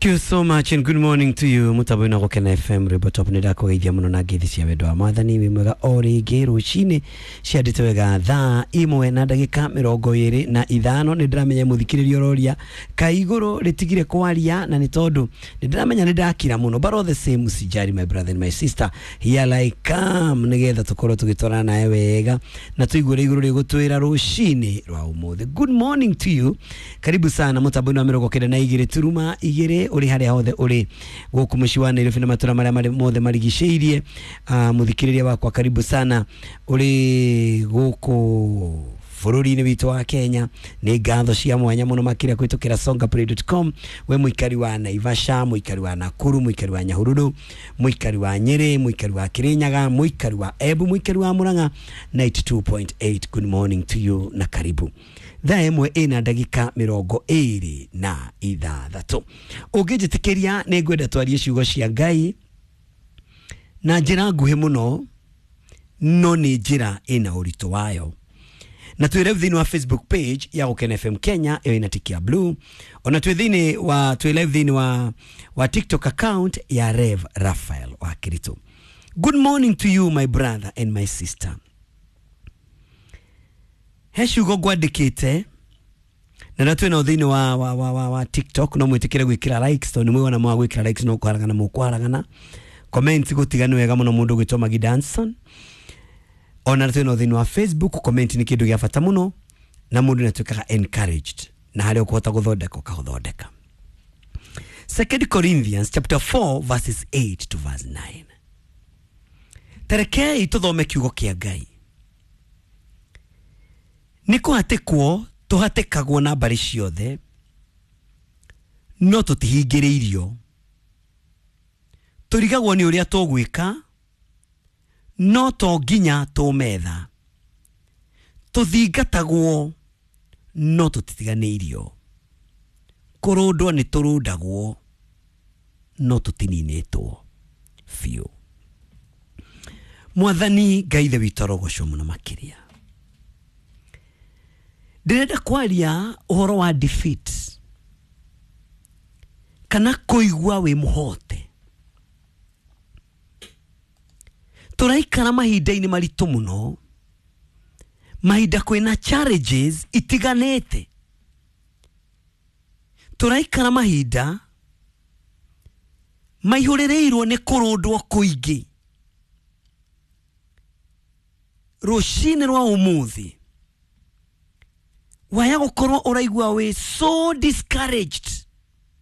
Thank you so much and good morning to you. Mutambo na Gukena FM, rwimbo top. Nĩ ndakũgeithia mũno na ngeithi cia wendo wa Mwathani. Wĩ mwega o rĩngĩ rũcinĩ ciandĩte wega thaa 1:25. Nĩ ndĩramenya mũthikĩrĩria ũroria kaĩ igũrũ rĩtigire kwaria, na nĩ tondũ nĩ ndĩramenya nĩ ndakira mũno, but all the same, usijali, my brother and my sister, here I come nĩgetha tũkorwo tũgĩtwarana nawe wega na tũigue igũrũ rĩgũtwĩra rũcinĩ rwa ũmũthĩ. Good morning to you, karibu sana mũtambo-inĩ wa 92.2, ũrĩ harĩa hothe ũrĩ gũkũ mũciĩ wa Nairobi na matũra marĩa marĩ mothe marigicĩirie. Mũthikĩrĩria wakwa, karibu sana ũrĩ gũkũ bũrũri-inĩ witũ wa Kenya. Nĩ ngatho cia mwanya mũno makĩria kũhĩtũkĩra songaplay.com. We mũikari wa Naivasha, mũikari wa Nakuru, mũikari wa Nyahururu, mũikari wa Nyĩrĩ, mũikari wa Kirinyaga, mũikari wa Embu, mũikari wa Murang'a, 92.8, good morning to you na karibu. Thaa 1:26. Ũngĩnjĩtĩkĩria, nĩ ngwenda twarie ciugo cia Ngai na njĩra nguhĩ mũno, no nĩ njĩra ĩna ũritũ wayo. Na twĩ live thĩinĩ wa Facebook page ya Gukena FM Kenya, ĩyo ĩna tiki ya blue. Ona twĩ thĩinĩ wa, twĩ live thĩinĩ wa TikTok account ya Rev Raphael wa Kirito. Good morning to you, my brother and my sister. He ciugo ngwandĩkĩte na twĩ nao thĩinĩ wa TikTok, no mwĩtĩkĩre gwĩkĩra likes, tondũ nĩ mwĩona mwa gwĩkĩra likes no kwaragana mũkwaragana. Comment gũtiga nĩ wega mũno, mũndũ gwĩtwo Magi Danson. Ona twĩ nao thĩinĩ wa Facebook, comment nĩ kĩndũ gĩa bata mũno na mũndũ nĩ atuĩkaga encouraged na harĩa ũkũhota gũthondeka ũkaũthondeka. Second Corinthians chapter 4 verses 8 to verse 9. Tarekei tũthome kiugo kĩa Ngai. Nĩ kũhatĩkwo tũhatĩkagwo na mbarĩ ciothe, no tũtihingĩrĩirio. Tũrigagwo nĩ ũrĩa tũgwĩka, no to nginya tũmetha. Tũthingatagwo, no tũtitiganĩirio. Kũrũndwo nĩ tũrũndagwo, no tũtininĩtwo biũ. Mwathani Ngai Ithe witũ arogocwo mũno makĩria. Ndĩrenda kwaria ũhoro wa defeat kana kũigua wĩ mũhote. Tũraikara mahinda-inĩ maritũ mũno, mahinda kwĩna challenges itiganĩte. Tũraikara mahinda maihũrĩrĩirwo nĩ kũrũndwo kũingĩ. Rũcinĩ rwa ũmũthĩ waya gũkorwo ũraigua wĩ so discouraged.